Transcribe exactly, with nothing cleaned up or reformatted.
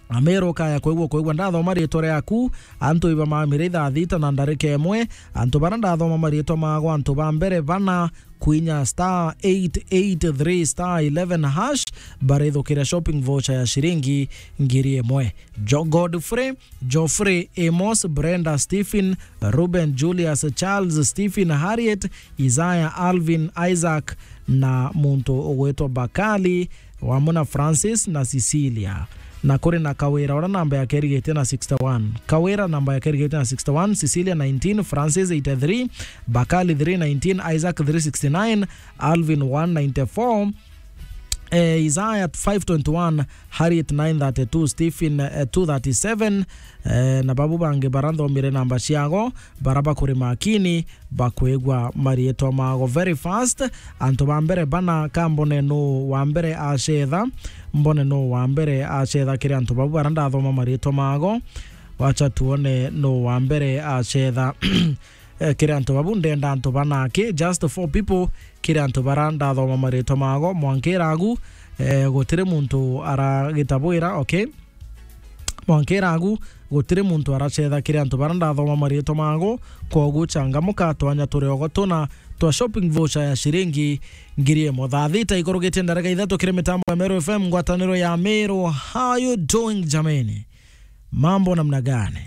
Ameru kaya kwigua, kwigua ndathoma riitwa riaku, antu iba mamire ithaa thita na ndarika imwe, antu bara ndathoma mariitwa mago, antu ba mbere bana kwinya star eight eight three star eleven hash, barithukira shopping voucher ya shiringi ngiri imwe. Jo Godfrey, Geoffrey, Amos, Brenda, Stephen, Ruben, Julius, Charles, Stephen, Harriet, Isaiah, Alvin, Isaac, na muntu ugwitwa Bakali, wamwe na Francis na Cecilia. Na kuri na Kawira, uria namba yake irigitie na sixty-one. Kawira namba yake irigitie na sixty-one, Cecilia nineteen, Francis eighty-three, Bakali three nineteen, Isaac three sixty-nine, Alvin one ninety-four, eh, Isaiah five twenty-one, Harriet nine thirty-two, Stephen, eh, two thirty-seven, eh, na babu bangi bara nthomire namba ciago, bara bakuri makini, bakwigua mariitwa mago. Very fast, antu ba mbere bana, ka mbone nu wa mbere acetha, mbone nu wa mbere acetha kiri antu babu bara ndathoma mariitwa mago. Wacha tuone nu wa mbere acetha. Eh, kiri antu babu ndenda antu bana ki, just four people, kiri antu bara ndathoma mariitwa mago, mwankira agu, eh, gutiri muntu aragita bwira, okay? Mwankira agu, gutiri muntu aracetha kiri antu bara ndathoma mariitwa mago, kwogu changamuka, twanya turi ogo tuna twa shopping voucher ya shiringi ngiri imwe. Thaa thita ikurugitie ndarika ithatu kiri mitambo ya Meru F M, ngwataniro ya Meru. How you doing, jameni? Mambo namna gani?